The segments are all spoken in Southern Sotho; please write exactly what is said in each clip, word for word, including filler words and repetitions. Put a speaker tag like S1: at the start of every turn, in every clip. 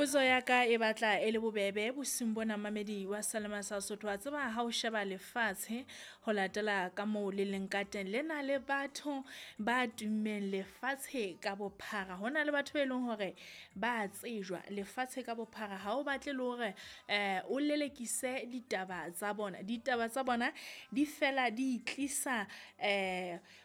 S1: Potso ya ka e batla e le bobebe bosiung bona mamedi wa Salema sa Sotho. Wa tseba ha o sheba lefatshe ho latela ka moo le leng ka teng, le na le batho ba tummeng lefatshe ka bophara. Ho na le batho be leng hore ba tsejwa lefatshe ka bophara. Ha o batle le hore o lelekise ditaba tsa bona, ditaba tsa bona di fela di tlisa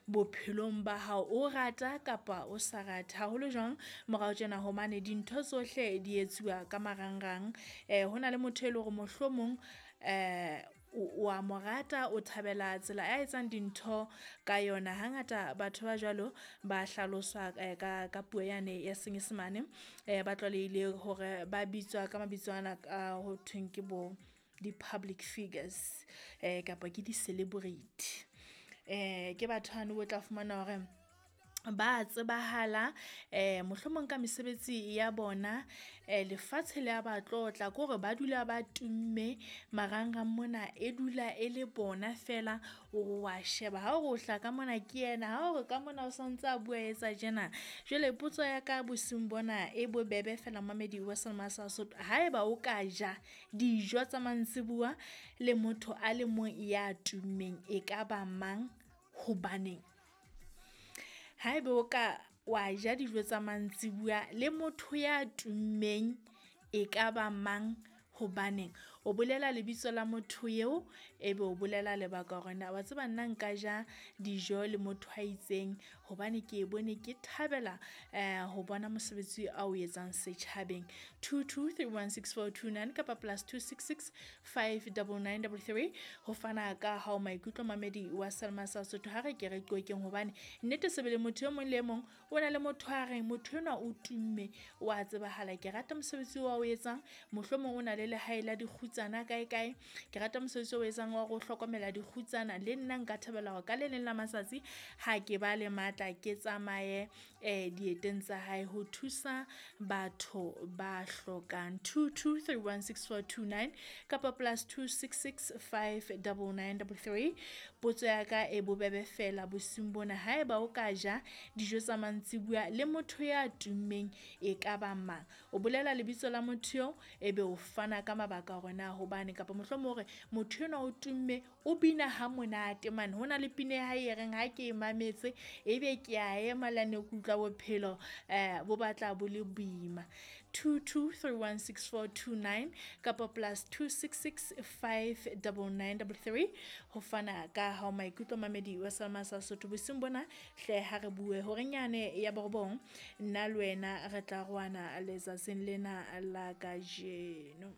S1: bophelong ba hao, o rata kapa o sa rate. Haholo jwang morao tjena hobane dintho tsohle di etsuwa ka marangrang. Ho na le motho e leng hore mohlomong o a mo rata, o thabela tsela a etsang dintho ka yona. Hangata batho ba jwalo ba hlaloswa ka ka puo yane ya Senyesemane ba tlwalehile hore ba bitswa ka mabitso ana a ho thweng ke bo di-public figures kapa ke di-celebrity. Ke batho bano bo tla fumana hore ba tsebahala mohlomong ka mesebetsi ya bona lefatshe le a ba tlotla ke hore ba dula ba tumme marangrang mona, e dula e le bona feela. O wa sheba ha o re o hlaha ka mona ke yena, ha o re ka mona o santse a bua etsa tjena. Jwale potso ya ka bosiung bona e bobebe feela momamedi wa selemsa sa Sesotho. Haeba o ka ja dijo tsa mantsibuya le motho a le mong ya tummeng, ekaba mang, hobaneng? Haeba o ka wa ja dijo tsa mantsibuya le motho ya tummeng, ekaba mang, hobaneng? O bolela lebitso la motho eo ebe o bolela lebaka hore na wa tseba nna nka ja dijo le motho a itseng hobane ke bone ke thabela ho bona mosebetsi ao etsang setjhabeng. Two two three one six four two nine kapa plus two six six five double nine double three. Ho fana ka hao maikutlo mamedi wa Selma sa Sotho. Ha re ke re qoqeng hobane nnete sebele motho e mong le e mong o na le motho a reng motho enwa o tumme wa tsebahala. Ke rata mosebetsi wa o etsang, mohlomong o na le lehae la dikgutsana kae kae. Ke rata mosebetsi o etsang wa hore o hlokomela dikgutsana le nna nka thabela hore ka le leng la matsatsi ha ke ba le matla, ke tsamaye dieteng tsa hae ho thusa batho ba hlokang. Two two three one six four two nine kapa plus two six six five double nine double three. Potso ya ka e bobebe feela bosiung bona, haeba o ka ja dijo tsa mantsibuya le motho ya tummeng, e ka ba mang? O bolela lebitso la motho eo ebe o fana ka mabaka hore na hobane kapa mohlomong hore motho enwa o tumme o bina ha monate mane. Ho na le pina ya hae e reng ha ke mametse, ebe ke a ema le hane ke utlwa bophelo bo batla bo le boima. Two two three one six four two nine kapa plus two six six five double nine double three. Ho fana ka hao maikutlo mamedi wa Selma sa Sotho. Bosiung bona hle ha re bue horeng yane ya borobong, nna le wena re tla roana letsatsing lena la kajeno.